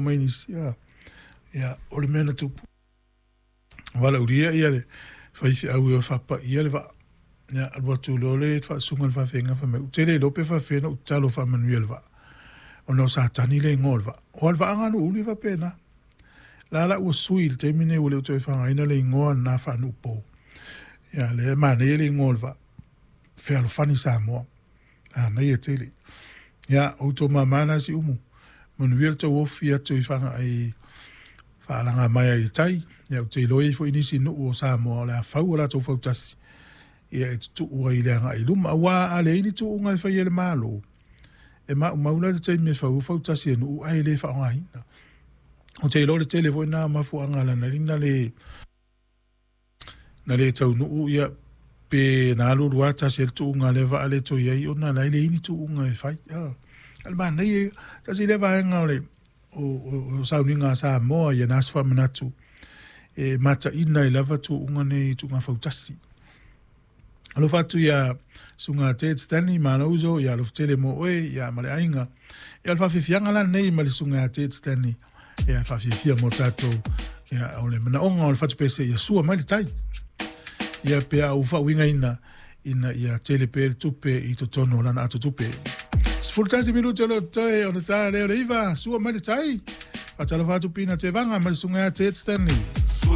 Mai nisi, ia, o le mea na tupu, valaaulia le faifeau e o e faapaia le vaa. Ia, alu atu loa le faasusuga i le faafeagaiga fai mai, ou te le iloa pe faapefea ona ou tatalo e faamanuia i le vaa, ona o Satani le igoa o le vaa. Aua o le vaa lena na ou uli e faapena. O la la ua sui i le taimi lenei ua le toe faaaogaina le igoa lena faanuu-pou. Ia, o lea e manaia le igoa o le vaa, Fealofani Samoa. Manaia tele. Ia, o outou mama na Siumu, manuia le tou ofi atu i Faalagamaea i tai. Ia, ou te iloa e i ai foi nisi nuu o Samoa o le a fau o latou fautasi, ia e tutuu ai i le agai i luma. Aua a leai ni tuuga e faia e le Malo, e maumau la le taimi e fau ai fautasi a nuu ae le faaaogaina. Ou te iloa o le tele foi lena o mafuaaga na ala ai ona le taunuu ia pe na alu alu lava tasi ai le tuuga a lea vaa le toe i ai ona o la e leai ni tuuga e fai. A o le manaia ia, tasi lea vaega o le o sauniga a Samoa i ana aso faamanatu e mataina ai lava tuuga nei i tuuga fautasi. Alofa atu ia Susuga Ted Stanley Malauso, ia alofa tele mo oe ia ma le aiga. Ia o le faafiafiaga la lenei ma le Susuga ia Ted Stanley ia faafiafia mo tatou ia o le manaoga o le fatupese ia sua mai le tai. Ia pe a ua faauigaina ina ia tele pea le tupe i totonu o lana ato tupe. 11 minute o lo o totoe ona ta lea o le 9, sua mai le tai. Faatalofa atu Pina Tevaga ma le Susuga ia Ted Stanley.